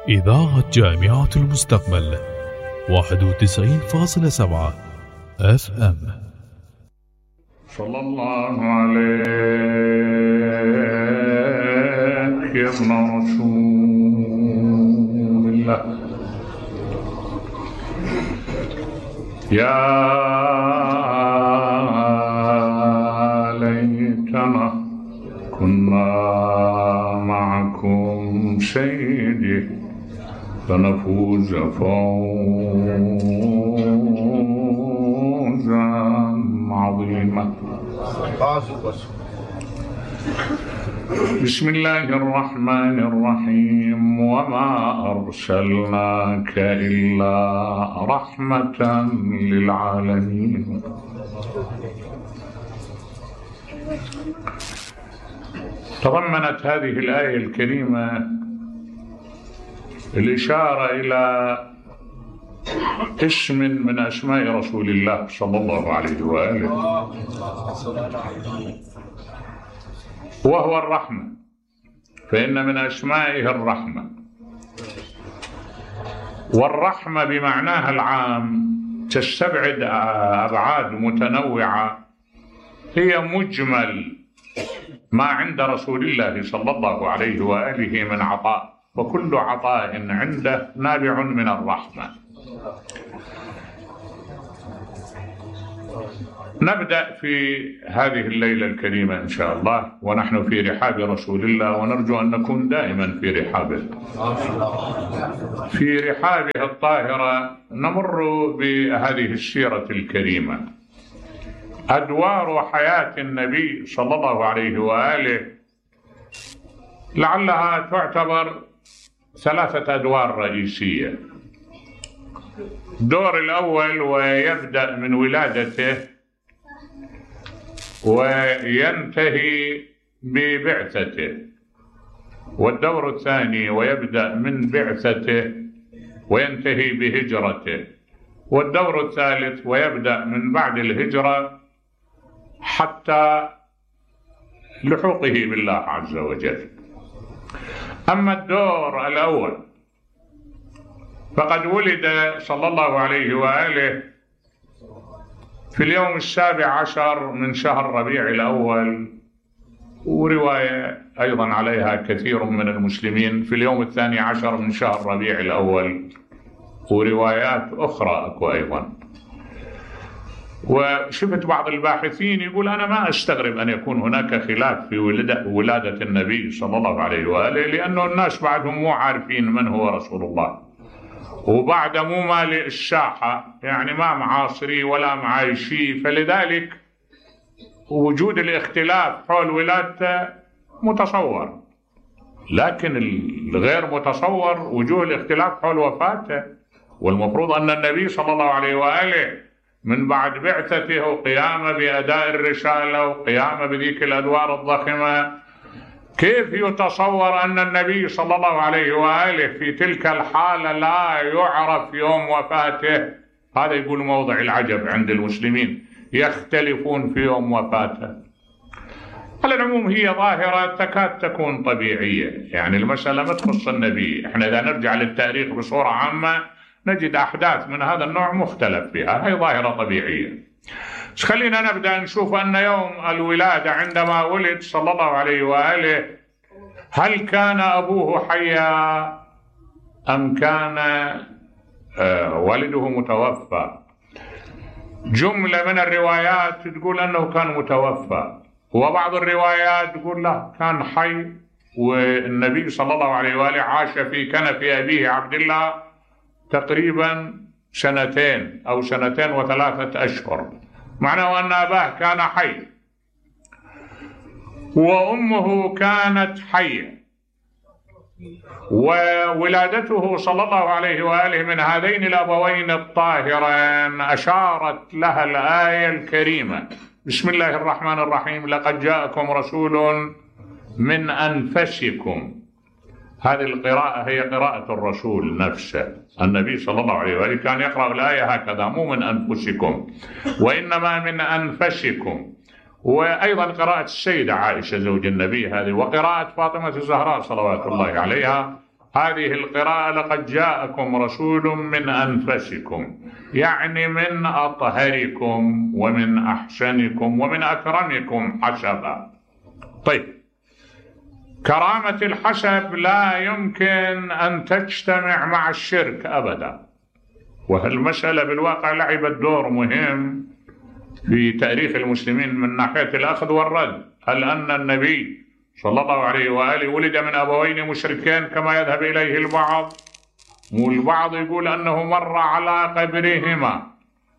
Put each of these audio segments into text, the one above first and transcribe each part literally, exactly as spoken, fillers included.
إذاعة جامعة المستقبل واحد وتسعين فاصلة سبعة اف ام. صلى الله عليك يا ابن رسول الله، يا ليتنا كنا معكم سيدي فنفوز فوزا عظيما. بسم الله الرحمن الرحيم. وما أرسلناك إلا رحمة للعالمين. تضمنت هذه الآية الكريمة الإشارة إلى اسم من أسماء رسول الله صلى الله عليه وآله، وهو الرحمة، فإن من أسمائه الرحمة، والرحمة بمعناها العام تستبعد أبعاد متنوعة هي مجمل ما عند رسول الله صلى الله عليه وآله من عطاء، وكل عطاء عنده نابع من الرحمة. نبدأ في هذه الليلة الكريمة إن شاء الله ونحن في رحاب رسول الله، ونرجو أن نكون دائما في رحابه في رحابه الطاهرة. نمر بهذه السيرة الكريمة، أدوار حياة النبي صلى الله عليه وآله لعلها تعتبر ثلاثة أدوار رئيسية. الدور الأول ويبدأ من ولادته وينتهي ببعثته، والدور الثاني ويبدأ من بعثته وينتهي بهجرته، والدور الثالث ويبدأ من بعد الهجرة حتى لحوقه بالله عز وجل. أما الدور الأول فقد ولد صلى الله عليه وآله في اليوم السابع عشر من شهر ربيع الأول، ورواية أيضا عليها كثير من المسلمين في اليوم الثاني عشر من شهر ربيع الأول، وروايات أخرى أكو أيضا. وشفت بعض الباحثين يقول أنا ما أستغرب أن يكون هناك خلاف في ولادة النبي صلى الله عليه وآله، لأنه الناس بعدهم مو عارفين من هو رسول الله، وبعد مو مالئ الساحة، يعني ما معاصري ولا معايشي، فلذلك وجود الاختلاف حول ولادته متصور، لكن الغير متصور وجود الاختلاف حول وفاته. والمفروض أن النبي صلى الله عليه وآله من بعد بعثته وقيامه بأداء الرسالة وقيامه بذيك الأدوار الضخمة، كيف يتصور أن النبي صلى الله عليه وآله في تلك الحالة لا يعرف يوم وفاته؟ هذا يقول موضع العجب عند المسلمين، يختلفون في يوم وفاته. على العموم هي ظاهرة تكاد تكون طبيعية، يعني المسألة ما تخص النبي. احنا إذا نرجع للتاريخ بصورة عامة نجد أحداث من هذا النوع مختلف فيها، هي ظاهرة طبيعية. بس خلينا نبدأ نشوف أن يوم الولادة عندما ولد صلى الله عليه وآله، هل كان أبوه حيا أم كان آه والده متوفى؟ جملة من الروايات تقول أنه كان متوفى، وبعض الروايات تقول لا كان حي، والنبي صلى الله عليه وآله عاش في كنف أبيه عبد الله تقريبا سنتين أو سنتين وثلاثة أشهر، معناه أن أباه كان حي وأمه كانت حية. وولادته صلى الله عليه وآله من هذين الأبوين الطاهرين أشارت لها الآية الكريمة بسم الله الرحمن الرحيم: لقد جاءكم رسول من أنفسكم. هذه القراءة هي قراءة الرسول نفسه، النبي صلى الله عليه وآله كان يقرأ الآية هكذا، مو من أنفسكم وإنما من أنفسكم. وأيضا قراءة السيدة عائشة زوج النبي هذه، وقراءة فاطمة الزهراء صلوات الله عليها هذه القراءة لقد جاءكم رسول من أنفسكم، يعني من أطهركم ومن أحسنكم ومن أكرمكم حسبا. طيب، كرامة الحسب لا يمكن أن تجتمع مع الشرك أبدا، وهالمسألة بالواقع لعبت دور مهم في تاريخ المسلمين من ناحية الأخذ والرد. هل أن النبي صلى الله عليه وآله ولد من أبوين مشركين كما يذهب إليه البعض؟ والبعض يقول أنه مر على قبرهما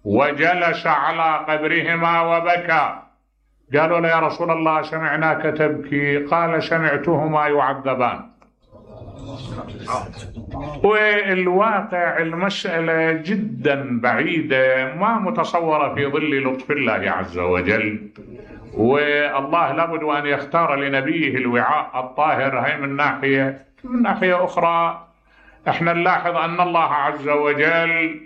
وجلس على قبرهما وبكى. قالوا له: يا رسول الله سمعناك تبكي. قال: سمعتهما يعذبان. والواقع المسألة جدا بعيدة، ما متصورة في ظل لطف الله عز وجل. والله لابد أن يختار لنبيه الوعاء الطاهر. هي من ناحية. من ناحية أخرى احنا نلاحظ أن الله عز وجل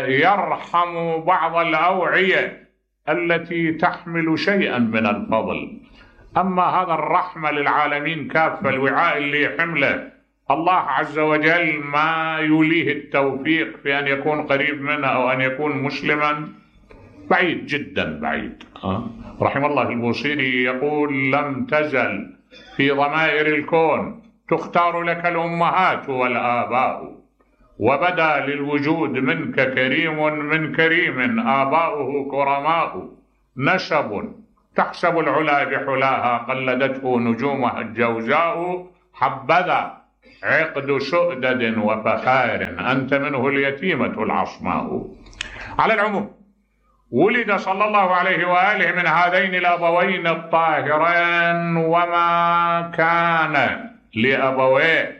يرحم بعض الأوعية التي تحمل شيئا من الفضل، أما هذا الرحمة للعالمين كافة، الوعاء اللي يحمله الله عز وجل ما يوليه التوفيق في أن يكون قريب منه أو أن يكون مسلما، بعيد جدا بعيد. رحم الله البوصيري يقول: لم تزل في ضمائر الكون تختار لك الأمهات والآباء، وبدا للوجود منك كريم من كريم آباؤه كرماء، نسب تحسب العلا بحلاها قلدته نجومها الجوزاء، حبذا عقد سؤدد وفخار أنت منه اليتيمة العصماء. على العموم، ولد صلى الله عليه وآله من هذين الأبوين الطاهرين، وما كان لأبويه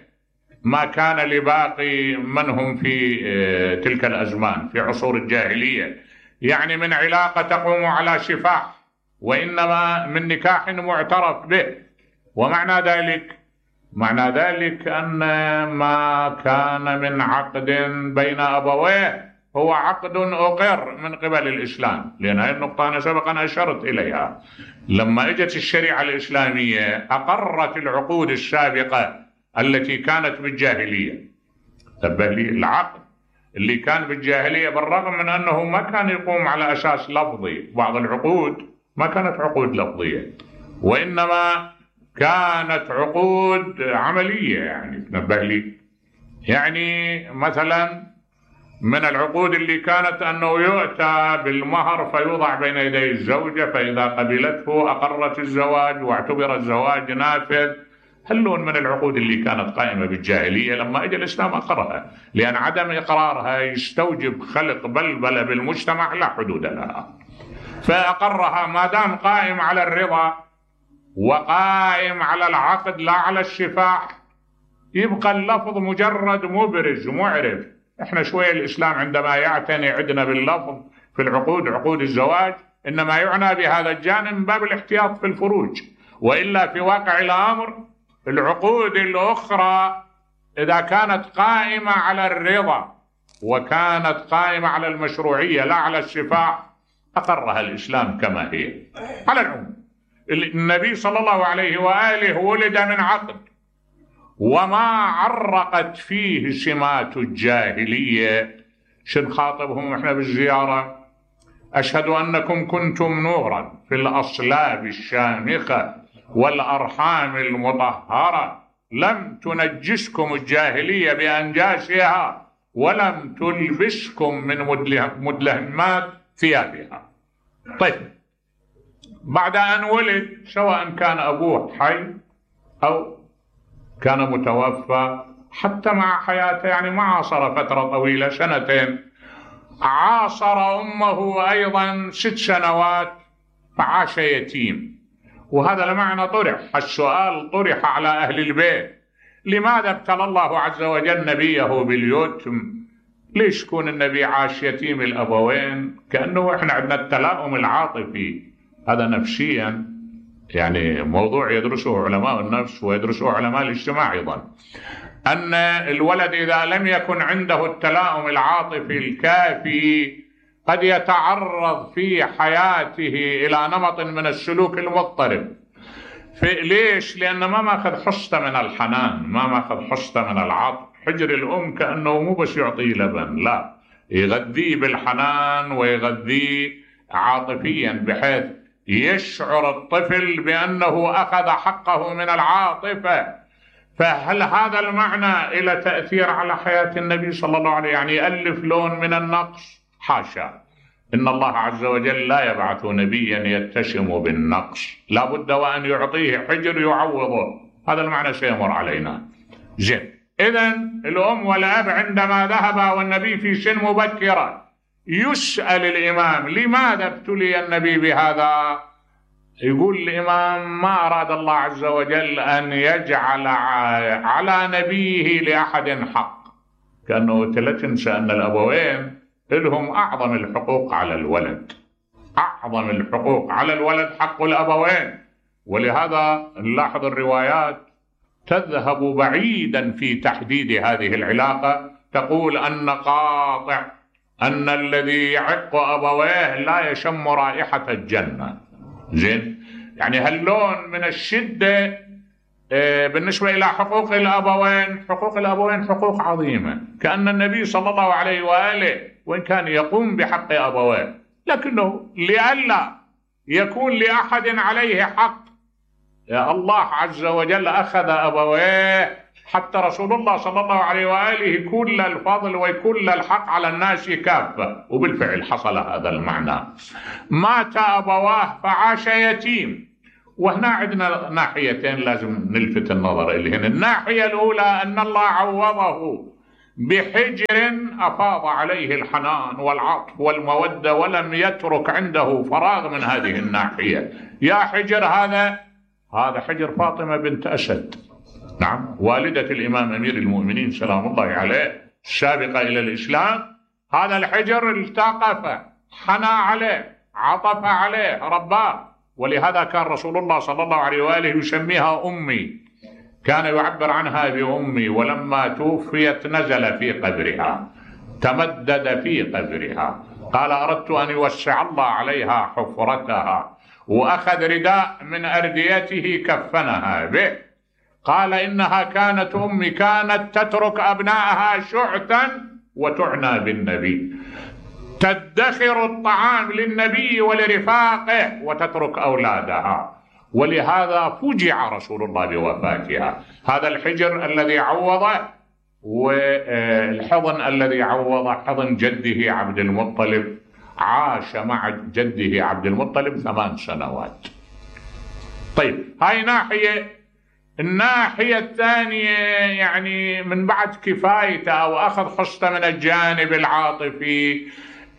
ما كان لباقي من هم في تلك الأزمان في عصور الجاهلية، يعني من علاقة تقوم على شفاح، وإنما من نكاح معترف به. ومعنى ذلك معنى ذلك أن ما كان من عقد بين أبويه هو عقد أقر من قبل الإسلام، لأن هذه النقطة أنا سبقا أشرت إليها. لما اجت الشريعة الإسلامية أقرت العقود السابقة التي كانت بالجاهلية. تبه لي، العقد اللي كان بالجاهلية بالرغم من أنه ما كان يقوم على أساس لفظي، بعض العقود ما كانت عقود لفظية وإنما كانت عقود عملية. يعني تنبه لي، يعني مثلا من العقود اللي كانت أنه يؤتى بالمهر فيوضع بين يدي الزوجة، فإذا قبلته أقرت الزواج واعتبر الزواج نافذ. هلون من العقود اللي كانت قائمة بالجاهلية لما اجى الإسلام أقرها، لأن عدم إقرارها يستوجب خلق بلبلة بالمجتمع لا حدود لها، فأقرها. ما دام قائم على الرضا وقائم على العقد لا على الشفاح، يبقى اللفظ مجرد مبرز معرف. احنا شوية الإسلام عندما يعتني عندنا باللفظ في العقود، عقود الزواج، إنما يعنى بهذا الجانب من باب الاحتياط في الفروج، وإلا في واقع الأمر العقود الأخرى إذا كانت قائمة على الرضا وكانت قائمة على المشروعية لا على الشفاح أقرها الإسلام كما هي. على العموم، النبي صلى الله عليه وآله ولد من عقد، وما عرقت فيه سمات الجاهلية. شنخاطبهم احنا بالزيارة: أشهد أنكم كنتم نورا في الأصلاب الشامخة والأرحام المطهرة، لم تنجسكم الجاهلية بأنجاسها ولم تلبسكم من مدلهمات ثيابها. طيب، بعد أن ولد، سواء كان أبوه حي أو كان متوفى، حتى مع حياته يعني ما عاصر فترة طويلة، سنتين، عاصر أمه أيضا ست سنوات فعاش يتيم. وهذا لمعنى طرح السؤال طرح على أهل البيت: لماذا ابتلى الله عز وجل نبيه باليتم؟ ليش يكون النبي عاش يتيم الأبوين؟ كأنه إحنا عندنا التلاؤم العاطفي، هذا نفسيا يعني موضوع يدرسه علماء النفس ويدرسه علماء الاجتماع أيضا، أن الولد إذا لم يكن عنده التلاؤم العاطفي الكافي قد يتعرض في حياته إلى نمط من السلوك المضطرب. ليش؟ لأنه ما ماخذ حصته من الحنان، ما ماخذ حصته من العطف. حجر الأم كأنه مو بس يعطيه لبن، لا، يغذيه بالحنان ويغذيه عاطفيا بحيث يشعر الطفل بأنه أخذ حقه من العاطفة. فهل هذا المعنى إلى تأثير على حياة النبي صلى الله عليه وسلم؟ يعني يألف لون من النقص؟ حاشا، إن الله عز وجل لا يبعث نبيا يتشم بالنقص، لا بد وأن يعطيه حجر يعوضه. هذا المعنى سيمر علينا. زين، إذن الأم والأب عندما ذهبا والنبي في سن مبكرة، يسأل الإمام لماذا ابتلي النبي بهذا؟ يقول الإمام ما أراد الله عز وجل أن يجعل على نبيه لأحد حق، كأنه لا تنسى أن الأبوين لهم أعظم الحقوق على الولد، أعظم الحقوق على الولد حق الأبوين. ولهذا نلاحظ الروايات تذهب بعيدا في تحديد هذه العلاقة، تقول أن قاطع أن الذي يعق أبويه لا يشم رائحة الجنة. زين، يعني هاللون من الشدة بالنسبة إلى حقوق الأبوين. حقوق الأبوين حقوق عظيمة، كأن النبي صلى الله عليه وآله وإن كان يقوم بحق أبويه، لكنه لئلا يكون لأحد عليه حق، الله عز وجل أخذ أبويه، حتى رسول الله صلى الله عليه وآله كل الفضل وكل الحق على الناس كافة. وبالفعل حصل هذا المعنى. مات أبواه فعاش يتيم. وهنا عندنا ناحيتين لازم نلفت النظر إليهن. الناحية الأولى أن الله عوضه بحجر أفاض عليه الحنان والعطف والمودة، ولم يترك عنده فراغ من هذه الناحية. يا حجر هذا هذا حجر فاطمة بنت أسد، نعم، والدة الإمام أمير المؤمنين سلام الله عليه السابقة إلى الإسلام. هذا الحجر التقف، حنى عليه، عطف عليه، رباه. ولهذا كان رسول الله صلى الله عليه وآله يسميها أمي، كان يعبر عنها بأمي. ولما توفيت نزل في قبرها، تمدد في قبرها، قال أردت أن يوسع الله عليها حفرتها، وأخذ رداء من أرديته كفنها به. قال إنها كانت أمي، كانت تترك أبنائها شعثا وتعنى بالنبي، تدخر الطعام للنبي ولرفاقه وتترك أولادها. ولهذا فجع رسول الله بوفاتها. هذا الحجر الذي عوضه، والحضن الذي عوضه حضن جده عبد المطلب. عاش مع جده عبد المطلب ثمان سنوات. طيب، هاي ناحية. الناحية الثانية يعني من بعد كفايته أو أخذ حصته من الجانب العاطفي،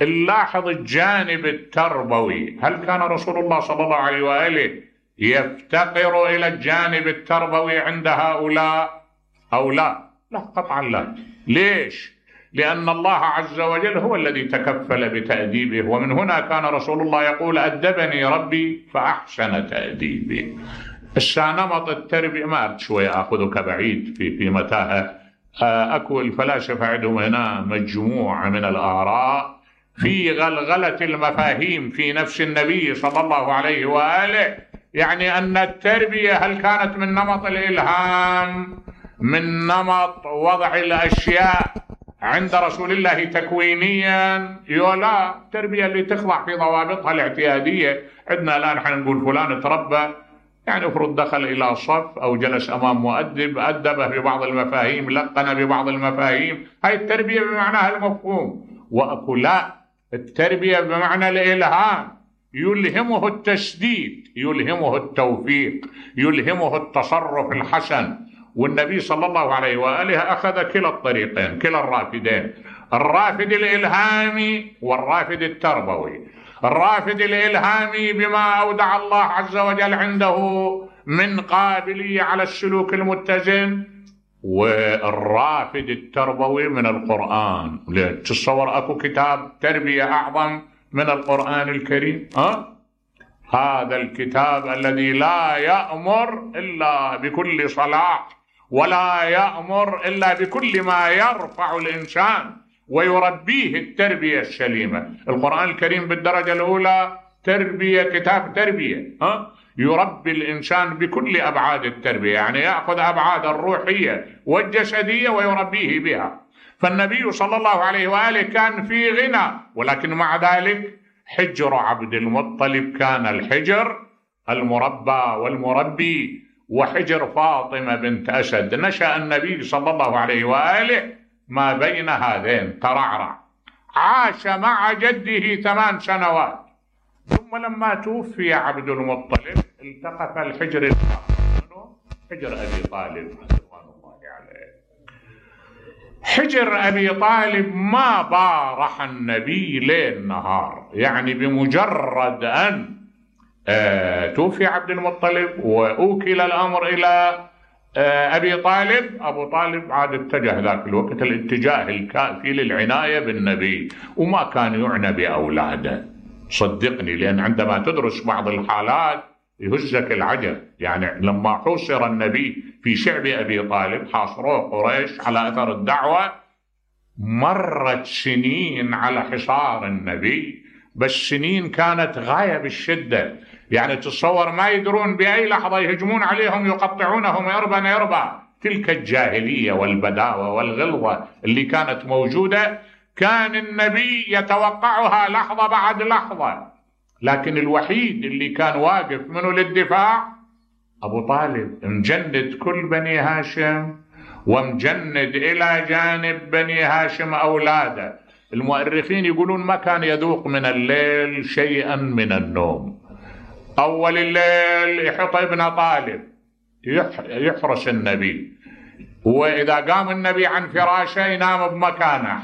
نلاحظ الجانب التربوي. هل كان رسول الله صلى الله عليه وآله يفتقر إلى الجانب التربوي عند هؤلاء أو لا؟ لا، قطعا لا. ليش؟ لأن الله عز وجل هو الذي تكفل بتأديبه. ومن هنا كان رسول الله يقول أدبني ربي فأحسن تأديبي. السانمط التربية ما شوية أخذك بعيد في في متاهة. أكو الفلاسفة عندهم هنا مجموعة من الآراء في غلغلة المفاهيم في نفس النبي صلى الله عليه وآله. يعني أن التربية هل كانت من نمط الإلهام، من نمط وضع الأشياء عند رسول الله تكوينيا؟ يولا، التربية اللي تخضع في ضوابطها الاعتيادية. عندنا الآن حنقول فلان تربى، يعني افرض دخل إلى صف أو جلس أمام مؤدب أدبه ببعض المفاهيم، لقن ببعض المفاهيم. هاي التربية بمعناها المفهوم. وأكو لا، التربية بمعنى الإلهام، يلهمه التسديد، يلهمه التوفيق، يلهمه التصرف الحسن. والنبي صلى الله عليه وآله أخذ كلا الطريقين، كلا الرافدين، الرافد الإلهامي والرافد التربوي. الرافد الإلهامي بما أودع الله عز وجل عنده من قابلية على السلوك المتزن، والرافد التربوي من القرآن. تتصور أكو كتاب تربية أعظم من القرآن الكريم؟ أه؟ هذا الكتاب الذي لا يأمر إلا بكل صلاح، ولا يأمر إلا بكل ما يرفع الإنسان ويربيه التربية السليمة. القرآن الكريم بالدرجة الأولى تربية، كتاب تربية. أه؟ يربي الإنسان بكل أبعاد التربية، يعني يأخذ أبعاد الروحية والجسدية ويربيه بها. فالنبي صلى الله عليه وآله كان في غنى، ولكن مع ذلك حجر عبد المطلب كان الحجر المربى والمربي. وحجر فاطمة بنت أسد نشأ النبي صلى الله عليه وآله ما بين هذين، ترعرع، عاش مع جده ثمان سنوات. ثم لما توفي عبد المطلب التقف الحجر الآخر، حجر أبي طالب رضوان الله عليه. حجر أبي طالب ما بارح النبي ليل نهار، يعني بمجرد أن آه توفي عبد المطلب وأوكل الأمر إلى آه أبي طالب، أبو طالب عاد اتجه ذاك الوقت الاتجاه الكافي للعناية بالنبي، وما كان يعنى بأولاده، صدقني، لأن عندما تدرس بعض الحالات يهزك العجب. يعني لما حوصر النبي في شعب أبي طالب، حاصروه قريش على أثر الدعوة، مرت سنين على حصار النبي، بس سنين كانت غاية بالشدة. يعني تصور ما يدرون بأي لحظة يهجمون عليهم يقطعونهم يربا يربا. تلك الجاهلية والبداوة والغلظة اللي كانت موجودة كان النبي يتوقعها لحظة بعد لحظة، لكن الوحيد اللي كان واقف منه للدفاع أبو طالب، مجند كل بني هاشم ومجند إلى جانب بني هاشم أولاده. المؤرخين يقولون ما كان يذوق من الليل شيئا من النوم. أول الليل يحط ابن طالب يحرس النبي، وإذا قام النبي عن فراشه ينام بمكانه